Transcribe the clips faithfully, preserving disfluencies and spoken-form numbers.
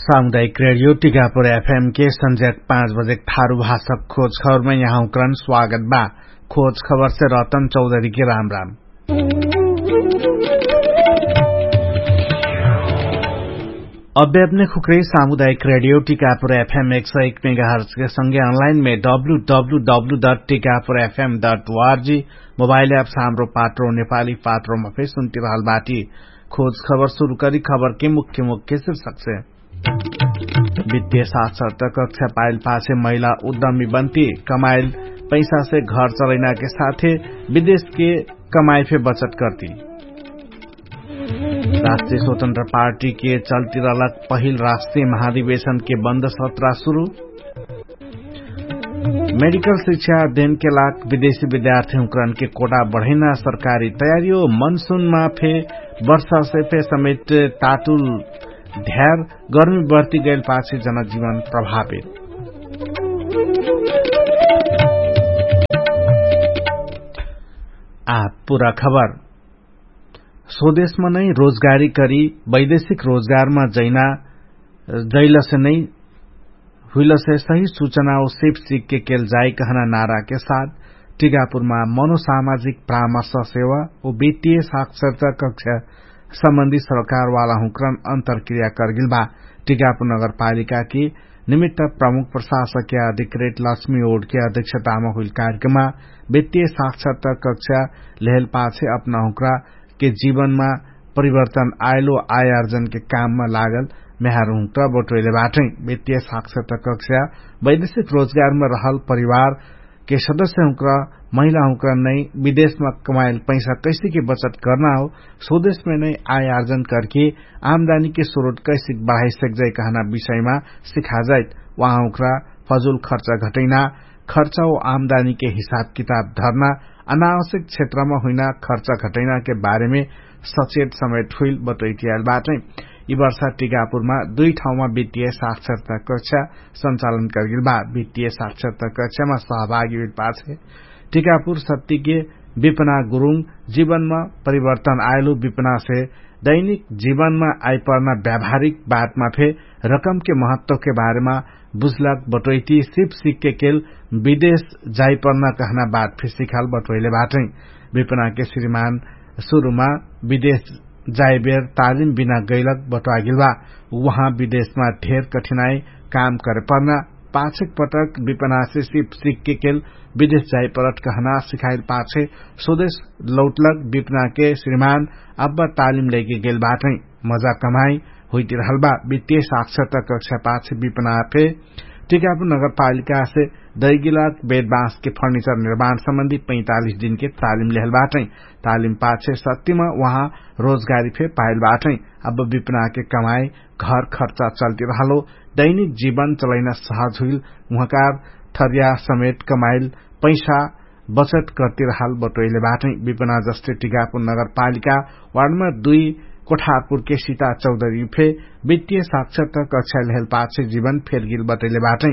सामुदायिक रेडियो टिकापुर एफएम के संझ्याक पाँच बजेक थारु भाषक खोज खबरमे यहाँ हुँक्रन स्वागत बा। खोज खबरसे रतन चौधरीके राम राम। अब्यापने खुक्रे सामुदायिक रेडियो टिकापुर एफएम एक सय एक मेगाहर्जके संगे अनलाइनमे W W W dot Tikapur FM dot ORG mobile app साम्रो पात्रो नेपाली पात्रोमा फे सुन्तिरहल बाटी। खोज खबर सुरु करी खबरके मुख्य मुख्य शिर्षकसे। वित्तीय साक्षरता कक्षा पाइल पाछे महिला उद्यमी बन्ती। कमाइल पैसासे घर चलैनाके साथे विदेशके कमाइ फे बचत कर्ती। राष्ट्रिय स्वतन्त्र पार्टीके चल्तिरहलक पहिल राष्ट्रिय महाधिवेशनके बन्द सत्रा सुरु। मेडिकल शिक्षा अध्ययनके लाग विदेशी विद्यार्थी हुँकरनके कोटा बढैना सरकारी तयारी हो। मनसुनमा फे वर्षासे फे समेट तातुल ध्यार गर्मी बढ्ती गैल पाछे जनजीवन प्रभावित। आ पुरा खबर। स्वदेशमा नै रोजगारी करी वैदेशिक रोजगारमा जैना जैलसे नै हुइलसे सही सुचना ओ सिप सिकके केल जाई कहना नाराके साथ टिकापुरमा मनोसामाजिक परामर्श सेवा ओ वित्तीय साक्षरता कक्षा सम्बन्धी सरकारवाला हुँक्रन अन्तरक्रिया करगेल बा। टिकापुर नगरपालिकाके निमित्त प्रमुख प्रशासकके अधिकृत लक्ष्मी ओडके अध्यक्षतामा हुइल कार्यक्रममा वित्तीय साक्षरता कक्षा लेहल पाछे अपना हुँक्रा के जीवनमा परिवर्तन आइलो आयार्जनके काममा लागल म्याहार हुँक्रा बटोइले बाटै। वित्तीय साक्षरता कक्षा वैदेशिक रोजगारमा रहल परिवारके सदस्य हुँक्रा महिला हुँक्रा नै विदेशमा कमाइल पैसा कैसेके बचत कर्ना हो, स्वदेशमे नै आयार्जन करके आमदानीके स्रोत कैसेक बढाइसक्जाइ कहना विषयमा सिखाजाइत। उहाँ हुँक्रा फजुल खर्च घटैना, खर्च ओ आमदानीके हिसाब किताब धर्ना, अनावश्यक क्षेत्रमा हुइना खर्च घटैनाके बारेमे सचेत समेट हुइल बटोइटियाल बाटै। यि वर्षा टिकापुरमा दुइ ठाउँमा वित्तीय साक्षरता कक्षा सञ्चालन करगेल बा। वित्तीय साक्षरता कक्षामा सहभागी हुइल पाछे टिकापुर सत्तिके विपना गुरुङ जीवनमा परिवर्तन आइलु विपनासे दैनिक जीवनमा आइपर्ना व्यावहारिक बातमा फे रकमके महत्वके बारेमा बुझलक बटोइती सिप सिकके केल विदेश जाइपर्ना कहना बात फे सिखाल बटोइले बाटै। विपनाके श्रीमान सुरुमा विदेश जाइबेर तालिम बिना गैलक बटोआगेल बा। उहाँ विदेशमा ढेर कठिनाइ काम करेपर्ना पाछेक पटक विपनासे सिप सिकके केल विदेश जाइपरट कहना सिखाइल पाछे स्वदेश लौटलक विपनाके श्रीमान अब्बा तालिम लैके गेल बाटै। मजा कमाइ हुइतिरहल बा। वित्तीय साक्षरता कक्षा पाछे विपना फे टिकापुर नगरपालिकासे दैगिलक बेदबाँसके फर्निचर निर्माण सम्बन्धी पैँतालिस दिनके तालिम लेहल बाटै। तालिम पाछे सत्तिमा उहाँ रोजगारी फे पाइल बाटै। अब विपनाके कमाइ घर खर्चा चल्तिरहलो दैनिक जीवन चलैना सहज हुइल। उहाँकार थरिया समेत कमाइल पैसा बचत कर्तिरहल बटोइले बाटै। विपना जस्ते टिकापुर नगरपालिका वार्डमा दुइ कोठापुरके सिता चौधरी फे वित्तीय साक्षरता कक्षा लेहल पाछे जीवन फेरगेल बटोइले बाटै।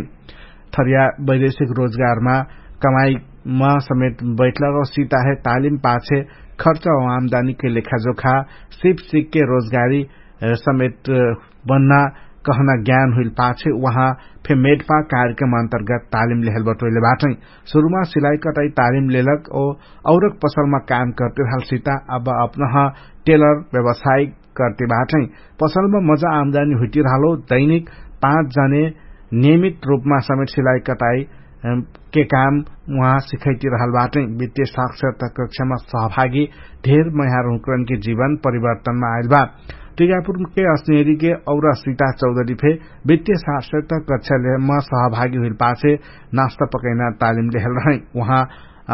थरिया वैदेशिक रोजगारमा कमाइमा समेत बैठलक औ सिताहे तालिम पाछे खर्च औ आमदानीके लेखाजोखा सिप सिकके रोजगारी समेत बन्ना कहना ज्ञान हुइल पाछे उहाँ फे मेटपा कार्यक्रम अन्तर्गत तालिम लेहल बटोइले बाटै। सुरुमा सिलाइ कटाइ तालिम लेलक औ औरक पसलमा काम कर्तिरहल सिता अब अपनह टेलर व्यवसाय कर्तिबाटै। पसलमा मजा आमदानी हुइतिरहलो दैनिक पाँच जने नियमित रूपमा समेट सिलाइ कटाइ के काम उहाँ सिखैतिरहल बाटै। वित्तीय साक्षरता कक्षामा सहभागी ढेर मैहार हुँक्रनके जीवन परिवर्तनमा आइल बा। टिकापुरके अस्नेरीके और सिता चौधरी फे वित्तीय साक्षरता कक्षामा सहभागी हुइल पाछे नास्ता पकैना तालिम लेहल रहै। उहाँ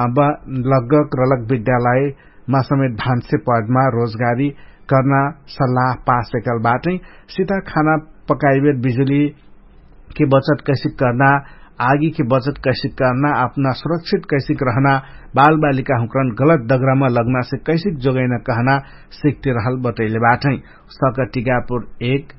अब लगक रलक विद्यालयमा समेत भान्से पदमा रोजगारी कर्ना सल्लाह पास एकल बाटै। सिता खाना पकाइबेर बिजुलीके बचत कैसिक कर्ना, आगीके बचत कैसिक कर्ना, अपना सुरक्षित कैसिक रहना, बालबालिका हुँक्रन गलत दगरामा लग्नासे कैसिक जोगैना कहना सिकतिरहल बटैले बाटै। सक टिकापुर एक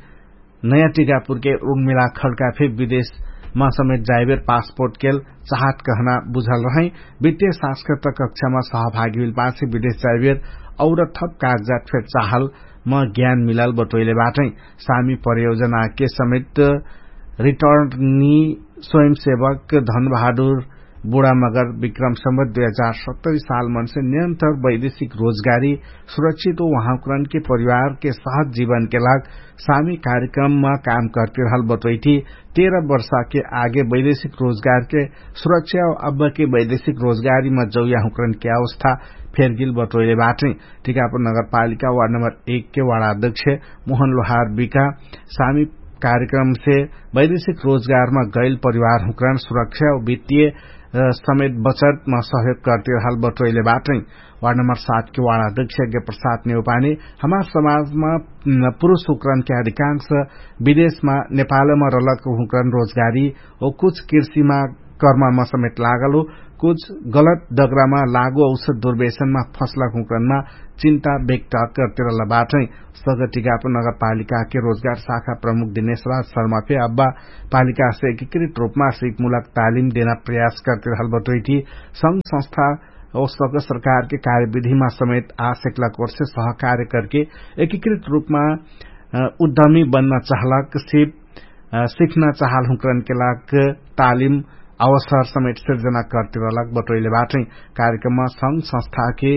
नयाँ टिकापुरके उर्मिला खड्का फे विदेश मा समेत जाइबेर पासपोर्ट केल चाहत कहना बुझल रहै। वित्तीय सांस्कृतिक कक्षामा सहभागी हुइल पाछे विदेश जाइबेर और थप कागजात फेर चाहल म ज्ञान मिलल बटोइले बाटै। सामी परियोजना के समेत रिटर्नी स्वयंसेवक धनबहादुर बुढामगर विक्रम सम्बत दुई हजार सत्तरी साल मनसे नियन्तर वैदेशिक रोजगारी सुरक्षित हो उहाँकरन के परिवार के सहज जीवन के लाग सामी कार्यक्रम मा काम करतिरहल बटोइठी। तेरह वर्षा के आगे वैदेशिक रोजगार के सुरक्षा अब के वैदेशिक रोजगारी मा जौया हुँकरन के अवस्था फेरगिल बटोइले बाटै। टिकापुर नगरपालिका वार्ड नम्बर एक के वार्डाध्यक्ष मोहन लोहार बिका सामी कार्यक्रम से वैदेशिक रोजगारमा गैल परिवार हुँकरान सुरक्षा वित्तीय समेत बचतमा सहयोग करतिरहल बटोइले बाटै। वार्ड नम्बर सात के वार्डाध्यक्ष यज्ञ प्रसाद नेउपानी हमार समाजमा पुरुष हुँकरान के अधिकांश विदेशमा नेपालमा रलक हुँकरान रोजगारी ओ कुछ कृषिमा कर्ममा समेत लागल हो कुछ गलत दगरामा लागु औसर दुर्वेशनमा फसला हुँकरानमा चिन्ता व्यक्त करतिरहल बाटै। सगटिकापुर नगरपालिका के रोजगार शाखा प्रमुख दिनेशराज शर्मा फे अब्बा पालिका से एकीकृत रूपमा सिकमुलक तालिम देना प्रयास करतिरहल बटोइठी। संग संस्था औसक सरकार के कार्यविधिमा समेत आसेकलक वर्ष सहकार्य करके एकीकृत रूपमा उद्यमी बन्न चाहलक सिप सिखना चाहल हुँकरन के लाग तालिम अवसर समेत सिर्जना करतिरहलक बटोइले बाटै। कार्यक्रममा संग संस्था के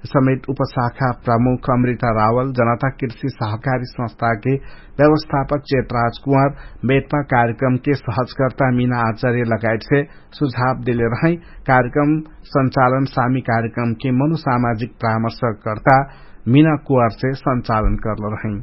समेत उपशाखा प्रमुख अमृता रावल जनता कृषि सहकारी संस्था के व्यवस्थापक चेतराज कुँवर बेटमा कार्यक्रम के सहजकर्ता मिना आचार्य लगायत से सुझाव देले रहै। कार्यक्रम संचालन सामी कार्यक्रम के मनोसामाजिक परामर्शकर्ता मिना कुँवर से संचालन करल रहै।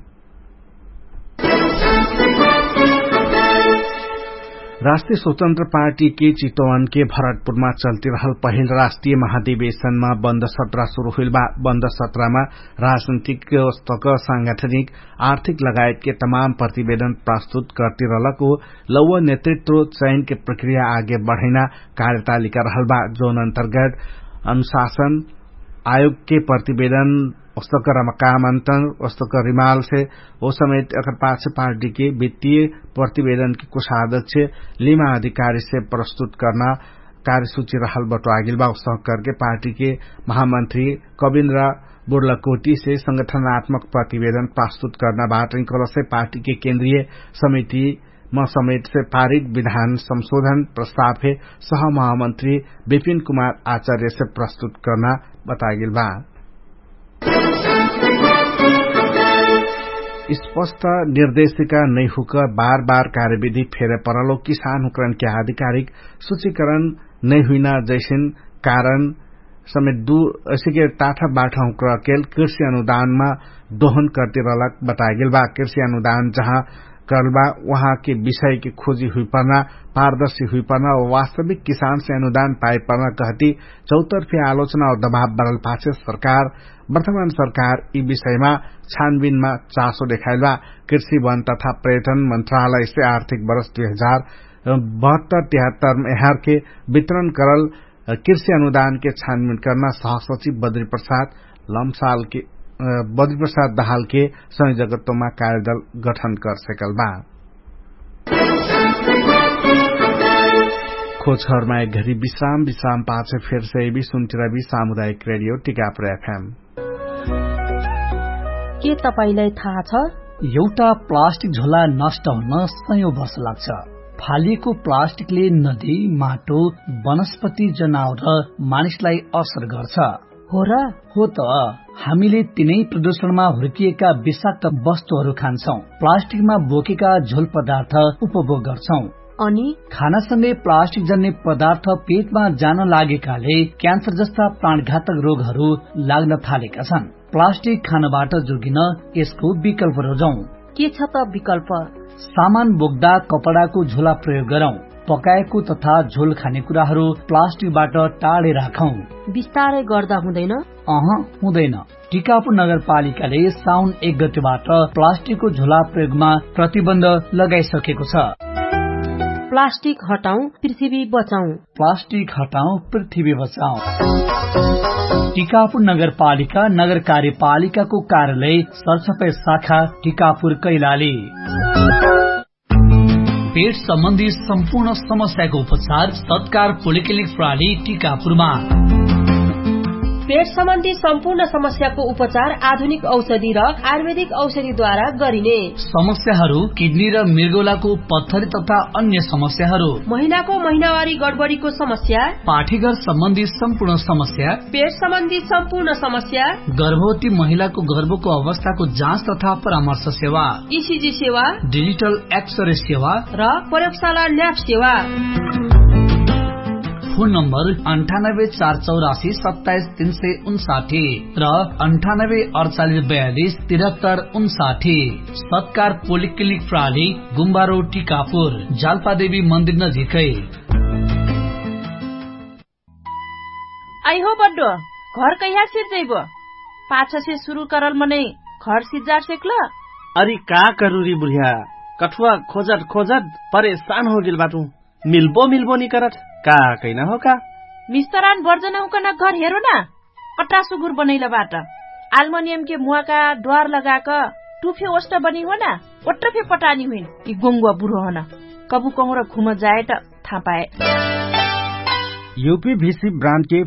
राष्ट्रिय स्वतन्त्र पार्टी के चितवन के भरतपुरमा चल्तिरहल पहिल राष्ट्रिय महाधिवेशनमा बन्द सत्रा सुरु हुइल बा। बन्द सत्रामा राजनैतिक अस्तक सांगठनिक आर्थिक लगायत के तमाम प्रतिवेदन प्रस्तुत करतिरहलक हो लौवा नेतृत्व चयन के प्रक्रिया आगे बढैना कार्यतालिका रहल बा। जौन अन्तर्गत अनुशासन आयोग के प्रतिवेदन वस्तक रमकामन्तन वस्तक रिमाल से ओ समेत अकर पाछ पार्टी के वित्तीय प्रतिवेदन के कुशादक छे लिमा अधिकारी से प्रस्तुत कर्ना कार्यसुची रहल बटो आगिल बा। वस्तक करके पार्टी के महामन्त्री कविन्द्र बुर्लकोटी से संगठनात्मक प्रतिवेदन प्रस्तुत कर्ना बाटै कलसे पार्टी के केन्द्रीय समिति म समेट से पारित विधान संशोधन प्रस्ताव हे सहमहामन्त्री विपिन कुमार आचार्य से प्रस्तुत कर्ना बतागेल बा। स्पष्ट निर्देशिका नैहुक बार बार कार्यविधि फेरे परलो किसानहुकरन के आधिकारिक सुचिकरण नैहुइना जैसिन कारण समेत दु असिके टाठा बाठा हुँक्र केल कृषि अनुदानमा दोहन कर्तिरलक बतागेल बा। कृषि अनुदान जहाँ करल बा उहाँके विषयके खोजी हुइपर्ना पारदर्शी हुइपर्ना वास्तविक किसानसे अनुदान पाइपर्ना कहती चौतर्फी आलोचना और दबाव बरल पाछे सरकार वर्तमान सरकार यि विषयमा छानबिनमा चासो देखाइल बा। कृषि वन तथा पर्यटन मन्त्रालयसे आर्थिक वर्ष दुई हजार बहत्तर तिहत्तर मेहरके वितरण करल कृषि अनुदानके छानबिन कर्ना सहसचिव बद्री प्रसाद लम्सालके बद्री प्रसाद दहालके संयोजकत्वमा कार्यदल गठन कर सकल बा। खोजखबरमा एक घरी विश्राम विश्राम पाछे फेरसे एबी सुन्तिरबी सामुदायिक रेडियो टिकापुर एफएम। के तपाईंलाई थाहा छ? एउटा प्लास्टिक झोला नष्ट हुन सयौं वर्ष लाग्छ। फालिएको प्लास्टिकले नदी, माटो, वनस्पति, जनावर र मानिसलाई असर गर्छ। हो र? हो त। हामीले तिनै प्रदूषणमा हुर्किएका विषाक्त वस्तुहरू खान्छौं, प्लास्टिकमा बोकेका झोल पदार्थ उपभोग गर्छौं। अनि खानासँगै प्लास्टिक जन्ने पदार्थ पेटमा जान लागेकाले क्यान्सर जस्ता प्राणघातक रोगहरू लाग्न थालेका छन्। प्लास्टिक खानबाट जोगिन यसको विकल्प रोजौं। के छ त विकल्प? सामान बोक्दा कपडाको झोला प्रयोग गरौं। पकाएको तथा झोल खाने कुराहरू प्लास्टिकबाट टाढे राखौं। बिस्तारै गर्दा हुँदैन? अह, हुँदैन। टिकापुर नगरपालिकाले साउन एक गतेबाट प्लास्टिकको झोला प्रयोगमा प्रतिबन्ध लगाइसकेको छ। प्लास्टिक हटाउँ, पृथ्वी बचाउँ। प्लास्टिक हटाउँ, पृथ्वी बचाउँ। टिकापुर नगरपालिका नगर कार्यपालिकाको कार्यालय सरसफाइ शाखा टिकापुर कैलाली। पेट सम्बन्धी सम्पूर्ण समस्याको उपचार सत्कार पोलिक्लिनिक प्रणाली टिकापुरमा। पेट सम्बन्धी सम्पूर्ण समस्याको उपचार आधुनिक औषधि र आयुर्वेदिक औषधिद्वारा गरिने। समस्याहरू किडनी र मृगौलाको पत्थरी तथा अन्य समस्याहरू। महिनाको महिनावारी गडबडीको समस्या। पाठीघर सम्बन्धी सम्पूर्ण समस्या। पेट सम्बन्धी सम्पूर्ण समस्या। गर्भवती महिलाको गर्भको अवस्थाको जाँच तथा परामर्श सेवा। इसिजी सेवा। डिजिटल एक्सरे सेवा। र प्रयोगशाला ल्याब सेवा। फोन नम्बर अन्ठानब्बे चार चौरासी सत्ताइस तीन सय उन्साठी र अन्ठानब्बे अडचालिस बयालिस तिरहत्तर उन्साठी। सत्कार पोलिक्लिनिक प्रणाली गुम्बारो टिकापुर जालपादेवी मन्दिर नजिकै। अइहो बड्डो, घर कैहा सिर्जैबो? पाछसे सुरु करल मनै घर सिज्जार सेक्ल। अरि का करुरी बुढिया, कठुवा खोजट खोजट परेशान होगेल बाटु। मिल्बो मिल्बो निकरट का कैना हो का? मिस्तरान बर्जन हुकन घर हेरो ना। कट्रा सुगुर बनैल बाट। आल्मनियमके मुवाका द्वार लगाक टुफे ओष्ट बनी हो ना। ओट्रफे पटानी हुइन यि गोङ्गुवा बुढो हन। कबु कहुँर घुम जाएट थापाए। युपीभिसी ब्रान्डके